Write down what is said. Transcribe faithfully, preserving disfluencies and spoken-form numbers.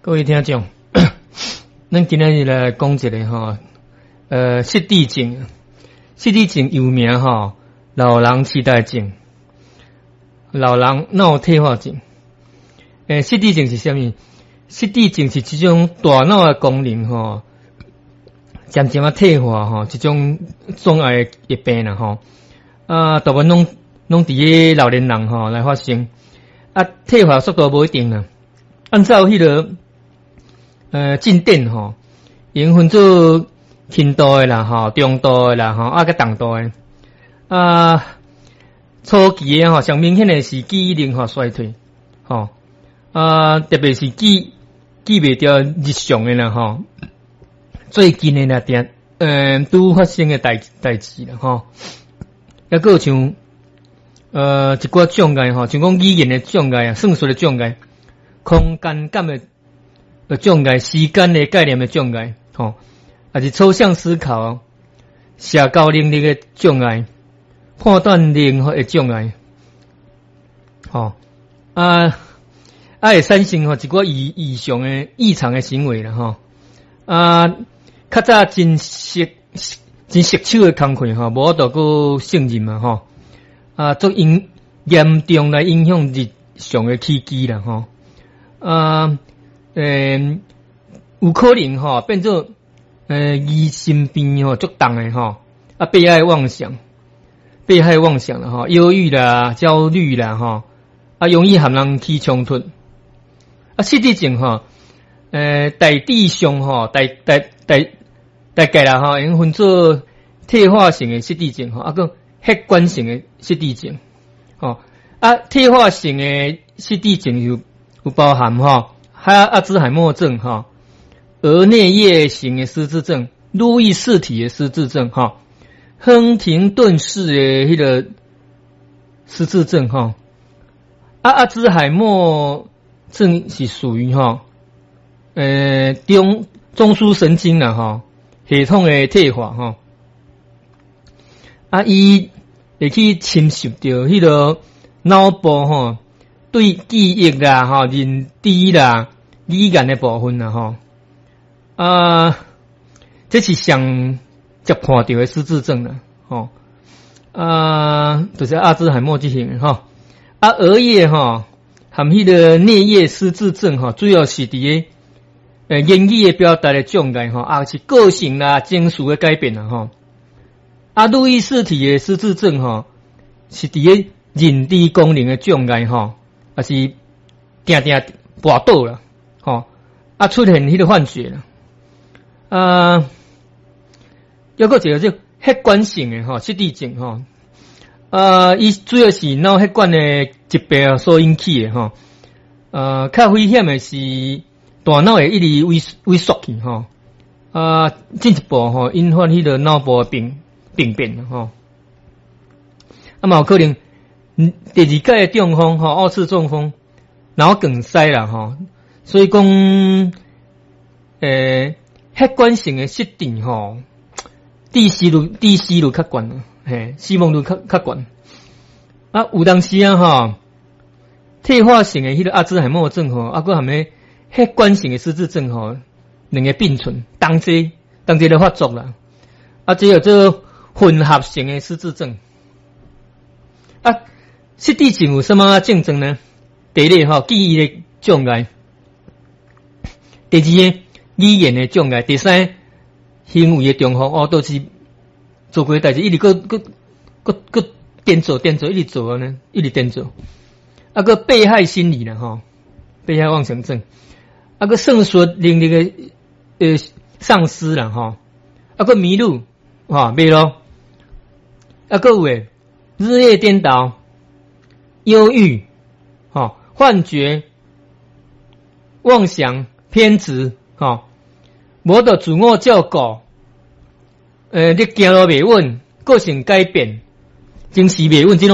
各位聽眾，咱今仔日來講一个吼，呃，失智症，失智症又名吼，老人痴呆症、老人腦退化症。欸，失智症是啥物？失智症是一種大腦的功能吼，漸漸仔退化吼，一種障礙的病啦吼。啊，大部分攏攏佇个老年人吼來發生。啊，退化速度無一定啦。按照彼个呃，進展吼，會分做輕度的啦，吼，中度的啦，吼，啊，佮重度的。啊，初期的吼，上明顯的是記憶力吼衰退，吼，啊，特別是記記袂著日常的啦，吼，最近的啦，定呃，拄發生的代代誌啦，吼，抑閣有像呃一寡障礙吼，像講語言的障礙啊，算術的障礙，空間感的的障礙，時間的概念的障礙，吼，抑是抽象思考、社交能力的障礙、判斷力的障礙，吼，啊啊會產生吼一寡異異常的異常的行為啦，吼，啊，較早真熟真熟手的工課吼，無法度閣勝任嘛，吼，啊，足嚴嚴重來影響日常的起居啦，吼，啊。欸，有可能吼變做呃疑心病吼足重的吼，啊，被害妄想，被害妄想啦吼，憂鬱啦、焦慮啦吼，啊，容易和人起衝突。啊，失智症吼，呃，大致上吼，大大大大概啦吼，會分做退化性的失智症吼，啊，閣血管性的失智症，吼，啊，退化性的失智症有有包含吼，還有阿茲海默症吼，額顳葉型的失智症、路易氏體的失智症吼，亨廷頓氏的彼个失智症吼，啊，阿茲海默症是屬於吼，呃，中中樞神經啦吼，系統的退化吼，啊，伊會去侵蝕著彼个腦部吼，對記憶啦、吼認知啦、語言的部分啦，吼，啊，這是上捷看著的失智症啦，吼，啊，就是阿茲海默這型的吼，啊，額葉吼和彼个顳葉失智症吼，主要是佇个呃言語的表達的障礙吼，啊是個性啦、情緒的改變啦，吼，啊，路易氏體的失智症吼，是佇个認知功能的障礙吼，抑是定定跋倒啦，吼，啊出現彼个幻覺啦，啊，抑閣一个這血管性的吼失智症吼，啊，伊主要是腦血管的疾病所引起的吼，呃，較危險的是大腦會一直萎萎縮去吼，啊，進一步吼引發彼个腦部的病病變吼，啊嘛有可能第二擺的中風吼，二次中風，腦梗塞啦吼，所以講，欸，血管性的失智吼，致死率致死率較懸，嘿，死亡率較較懸。啊，有當時啊吼，退化性的彼个阿茲海默症吼，啊，閣含彼血管性的失智症吼，兩个並存，同齊同齊咧發作啦。啊，這叫做混合性的失智症。啊，失智症有啥物症狀呢？第一個吼，記憶的障礙；第二个，語言的障礙；第三，行為的重複哦，都是做過的代誌，一直閣閣閣閣顛做顛做，一直做按呢，一直顛做。啊，閣被害心理啦吼，被害妄想症。啊，閣算術能力的呃喪失啦吼，啊，閣迷路吼迷路。啊，閣有的日夜顛倒、憂鬱、吼幻覺、妄想、偏執、吼無得自我照顧，呃，你行路袂穩，個性改變，情緒袂穩，這攏